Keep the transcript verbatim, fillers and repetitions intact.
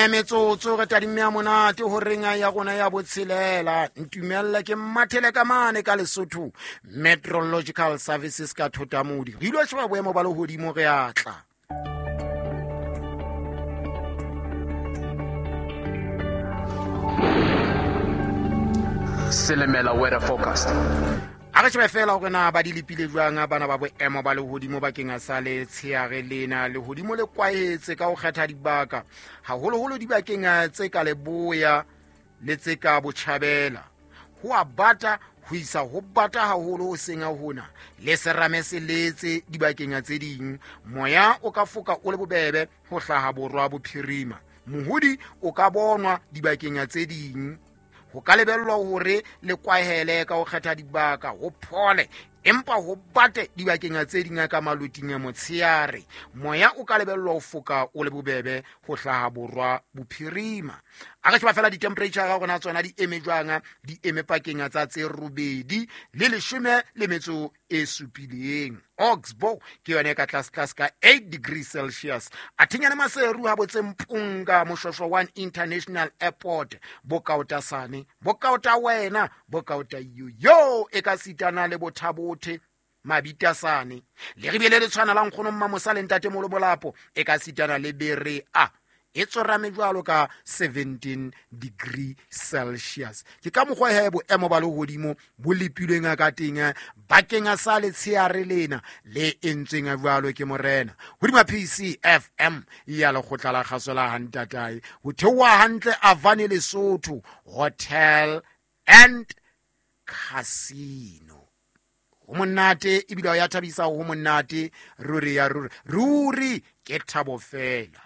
Mene metsotso re tadimme ya monate horeng ya rona ya botshelela. Ntumella ke mathele ka mane ka Lesotho Meteorological Services ka Thotamodi. Re ilo sheba boemo ba lehodimo re a tla. Silimela weather forecast. A re shebe fela hore na ba di lepile jwang bana ba boemo ba lehodimo bakeng sa letsheare lena. Lehodimo le kwahetse ka ho kgetha dibaka, haholoholo dibakeng tse ka leboya le tse ka botjhabela. Ho a bata ho isa ho bata haholo ho seng hona le serame se letse dibakeng tse ding. Moya o ka foka o le bobebe ho hlaha borwa bophirima. Mohodi o ka bonwa dibakeng tse ding. Ho ka lebellwa hore le kwahele ka ho kgetha dibaka, ho phole empa ho bate dibakeng tse ding ka maloting a motsheare. Moya o ka lebellwa ho foka o le bobebe ho hlaha borwa bophirima. A re sheba fela di-temperature ga rona tsona di eme jwang, di eme pakeng tsa tse robedi le leshome le metso e supileng. Oxbow ke yone ka tlase tlase ka eight degrees Celsius. Athinyane Maseru ha botse Mpunga Moshwashwa one International Airport, bokaotasane, bokaota wena, bokaota yo yo e ka sitana le bothabothe mabitasane. Le ribele le tshwana la nkgono Mmamosa le ntate Molobolapo e ka sitana le bere a e tsorame jwalo ka seventeen degree Celsius. Ke ka mokgwa he boemo ba lehodimo bo lepilweng ka teng bakeng sa letsheare lena le entsweng jwalo ke morena. Hodima P C F M ya lekgotla la kgaso la Hantatae ho theoha hantle Avane Lesotho Hotel and Casino. Ho monate ebile ya thabisa, ho monate ruri ya ruri ruri ke thabo fela.